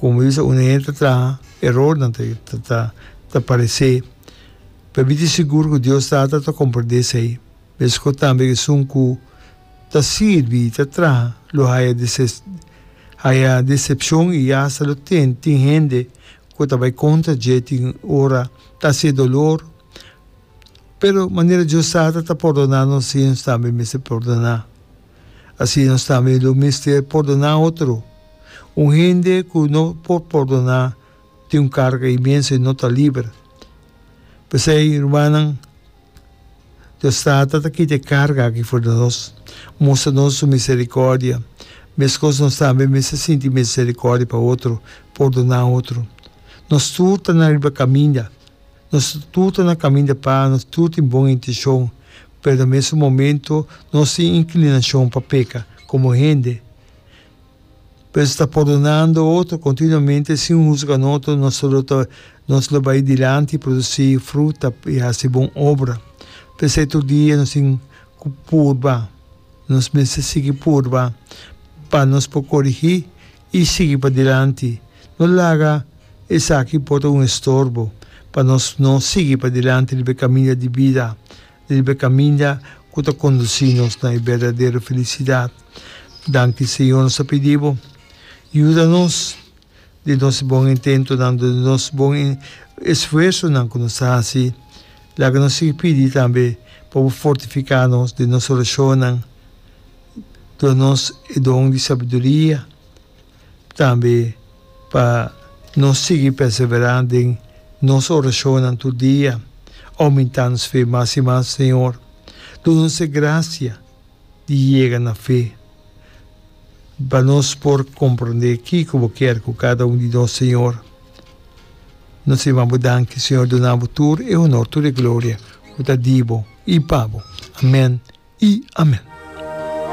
Komo bisa un hende ta traha, erornan ta ta ta paresé. Pero mi tin sigur ku Dios Tata ta komprendé esei. Meskos tambe esun ku ta sirbi i ta traha lo haya haya desepshon i asta lo tin tin hende ku ta bai kontra dje tin ora ta hasié dolor. Pero manera Dios Tata ta pordoná nos asina nos tambe mester pordoná. Asina nos tambe lo mester pordoná otro. Un hende ku no por pordoná tin un karga inmenso i no ta liber. P'esei, rumannan, Dios Tata ta kita e karga aki for di nos, mustra nos su miserikòrdia. Meskos nos tambe mester sinti miserikòrdia pa otro, pordoná otro. Nos tur ta na riba kaminda. Nos tur ta na kaminda pa, nos tur tin bon intenshon, pero na mesun momento nos tin inklinashon pa peka komo hende. Pero si ta pordonando otro kontinuamente sin husga notro, nos lo ta nos lo bai dilanti i produsí fruta i hasi bon obra. P'esei tur dia nos tin ku purba, nos mester sigui purba pa nos por korigí i sigui padilanti. No laga esaki por ta un estorbo pa nos no sigui padilanti riba e kaminda di bida, riba e kaminda ku ta kondusí nos na e berdadero felisidat. Danki Señor, nos ta pidi Bo, yuda nos den nos bon intentonan, den nos bon esfuersonan ku nos ta hasi. Laga nos sigui pidi tambe pa Bo fortifiká nos den nos orashonnan. Duna nos e don di sabiduria tambe pa nos sigui perseverá den nos orashonnan tur dia, oumentá nos fe mas i mas, Señor. Duna nos e grasia di yega na fe pa nos por komprondé kiko Bo kier ku kada un di nos, Señor. Nos yama Bo danki, Señor, duna Bo tur e honor, tur e gloria ku ta di Bo i pa Bo. Amèn. I amen.